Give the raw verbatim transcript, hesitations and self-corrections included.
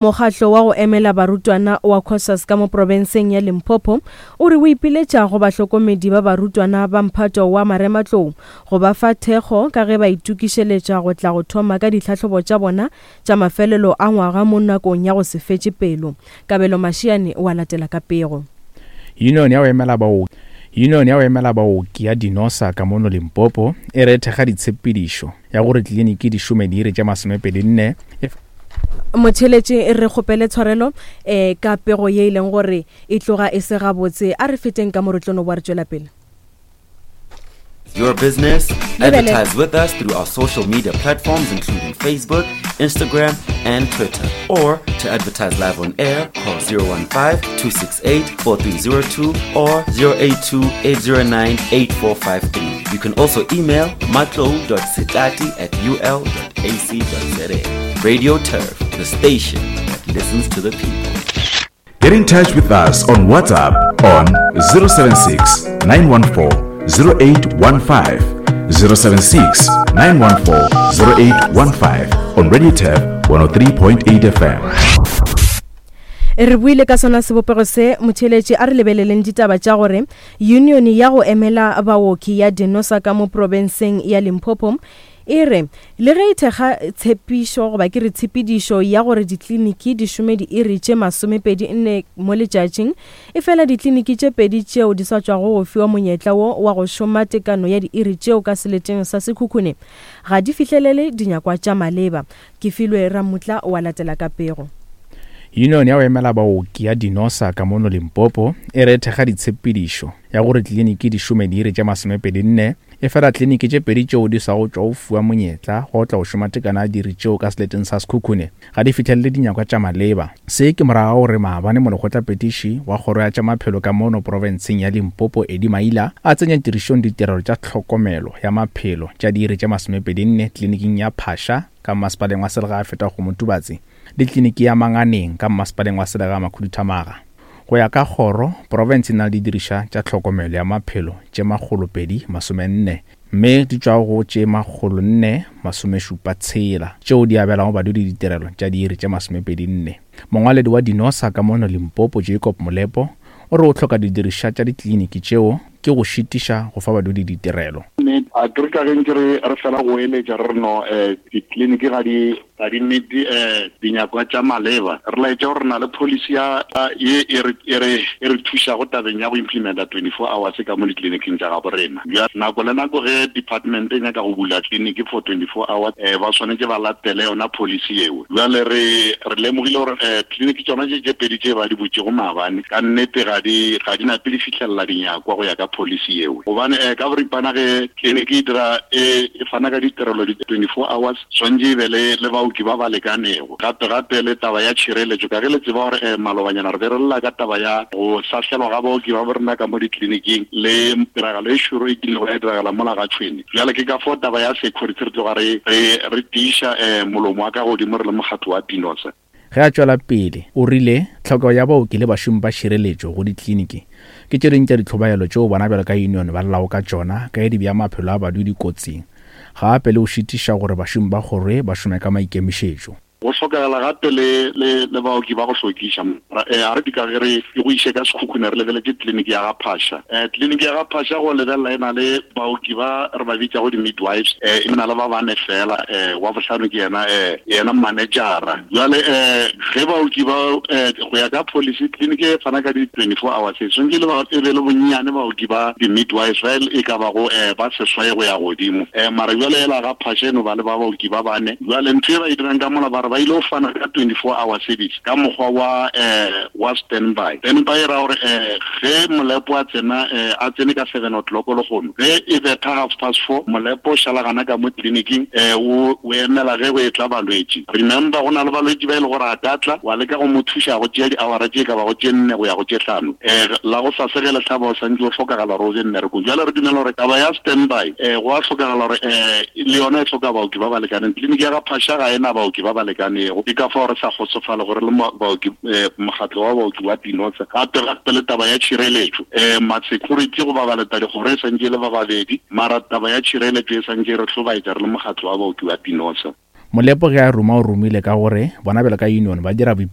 Mokgatlo wa go emela barutwana wa Cosas ka mo profenseng ya Limpopo o re o ipiletša go bahlokomedi ba barutwana ba mphato wa marematlou go ba fa thekgo ka ge ba itokišeletša go tla go thoma ka ditlhahlobo tša bona tša mafelelo a ngwaga mo nakong ya go se fetše pelo. Kabelo Mashiane wa latela ka pego. Union ya go emela baoki Union ya go emela baoki ya Dinosa ka mono Limpopo e re thekga ditshepedišo ya gore tleliniki di šome diiri tše masomepedi nne Motheletše, re kgopele tshwarelo um ka pego ye e leng gore e tloga e se gabotse. A re feteng ka mo re tlo no boa re tšwela pele. Your business? Lebele. Advertise with us through our social media platforms, including Facebook, Instagram, and Twitter. Or to advertise live on air, call zero one five, two six eight, four three zero two or zero eight two, eight zero nine, eight four five three. You can also email matlou dot setlati at u l dot a c dot z a. Radio Turf, the station that listens to the people. Get in touch with us on WhatsApp on zero seven six, nine one four, zero eight one five, zero seven six, nine one four, zero eight one five on Radio Turf one oh three point eight F M. Re buile ka sona sebopego se, motheeletši, a re lebeleleng ditaba tša gore union ya go emela baoki ya Dinosa ka mo profenseng ya Limpopo e re le ge e thekga tshepišo goba ke re tshepedišo ya gore ditleliniki di šome diiri tše masomepedi nne mo letšatšing, e fela ditleliniki tše pedi tšeo di sa tšwago go fiwa monyetla wo wa go šoma tekano ya diiri tšeo ka seleteng sa Sekhukhune ga di fihlelele dinyakwa tša maleba. Ke filwe Ramutla wa latela ka pego. Union ya go emela baoki ya Dinosa ka mono Limpopo e re thekga ditshepedišo ya gore tleliniki di šome diiri tše masomepedi nne, e fela tleliniki tše pedi tšeo di sa go tšwa go fiwa monyetla go tla go šoma tekano ya diiri tšeo ka seleteng sa Sekhukhune ga di fihlelele dinyakwa tša maleba. Se ke morago ga gore maabane molekgotlapetiši wa kgoro ya tša maphelo ka mono profenseng ya Limpopo Eddie Maila a tsenya tirišong ditirelo tša tlhokomelo ya maphelo tša diiri tše masomepedi nne tleliniking ya Phasha ka mmasepaleng wa Selegae feta go Motubatse le tleliniki ya Manganeng ka mmasepaleng wa Selegae Makhuduthamaga. Go ya ka kgoro, profense e na le didirišwa tša tlhokomelo ya maphelo tše makgolo pedi masomenne, mme di tšwa go tše makgolo nne masomešupa tshela tšeo di abelago badudi ditirelo tša diiri tše masomepedi nne. Mongwaledi wa Dinosa ka mono Limpopo Jacob Molepo o re o hloka didirišwa tša ditleliniki tšeo ke go šitiša go fa badudi ditirelo. A ke re ka ge nke re, re fela go eletša re re no, eh, ditleliniki ga di, ga di meet, eh, dinyakwa tša maleba. Re laetša gore re na le policy ya, ya, ye e re, e re, e re thušago tabeng ya go implementa twenty-four hours ka mo ditleliniking tša gabo rena. Bjale, nako le nako ge department e nyaka go bula tleliniki for twenty-four hours, eh, ba swanetše ba latele yona policy eo. Bjale re, re lemogile gore, eh, tleliniki tšona tše tše pedi tše ba di butšego maabane, ka nnete ga di, ga di nape di fihlelela dinyakwa go ya ka policy eo. Gobane, eh, ka boripana ge tleliniki e dira, e, e fana ka ditirelo di twenty-four hours, swantše e be le, le baoki ba ba lekanego. Gape, gape le taba ya tšhireletšo, ka ge le tseba gore, eh, malobanyana re be re lla ka taba ya go hlahlelwa ga baoki ba bo rena ka mo ditleliniking le tiragalo e šoro e kilego ya diragala mola ga Tšhwene. Bjale ke ka fao taba ya security re tloga re, re, re tiiša, eh, molomo wa ka godimo re le mokgatlo wa Dinosa. Ge a tšwela pele, o rile tlhokego ya baoki le bašomi ba tšhireletšo go ditleliniki ke tše dingwe tša ditlhobaelo tšeo bona bjalo ka union ba llago ka tšona ka ge di bea maphelo a badudi kotsing, gape le go šitiša gore bašomi ba kgoro ba šome ka maikemišetšo. Go hlokagala gape le, le, le baoki ba go hlwekiša. Eh, a re di ka ge re ke go iše ka Sekhukhune re lebeletše tleliniki ya ga Phasha. Eh, tleliniki ya ga Phasha go lebelela e na le baoki ba re ba bitšago di-midwives, eh, e na le ba bane fela, eh, wa bohlano ke yena, eh, yena manejara. Jwale, eh, ge baoki ba, eh, go ya ka policy, tleliniki e fana ka di twenty-four hours, e swanetše le ba, e be le bonnyane baoki ba di-midwives ba e ka bago, eh, ba seswai go ya godimo. Eh, mara jwale ela ga Phasha e no ba le ba baoki ba bane. Jwale ntho e ba e dirang ka mola ba re ba ile go fana ka twenty-four hour service ka mokgwa wa, eh, wa standby. Standby e ra gore, eh, ge Molepo a tsena, eh, a tsene ka seven o'clock lehono, ge e betha half past four, Molepo o šala gana ka mo tleliniking, eh, o, o emela ge go etla balwetši. Remember, go na le balwetši ba e le gore a ka tla, wa leka go mo thuša go tšea di-hour tše ka bago tše nne go ya go tše hlano. Eh, la go sase ge le hlaba o santše o hlokagala gore o be mmerekong. Jwale re dumela gore taba ya standby, eh, go a hlokagala gore, eh, le yona e hloka baoki ba ba lekaneng. Tleliniki ya ga Phasha ga ena baoki ba ba lekanego. Ke ka fao re sa kgotsofale gore le mo-, baoki, eh, mokgatlo wa baoki wa Dinosa. Gape gape le taba ya tšhireletšo, eh, ma-security goba baleta dikgoro e santše e le ba babedi, mara taba ya tšhireletšo e santše e re hlobaetša re le mokgatlo wa baoki wa Dinosa. Molepo ge a ruma o rumile ka gore bona bjalo ka union ba dira boipiletšo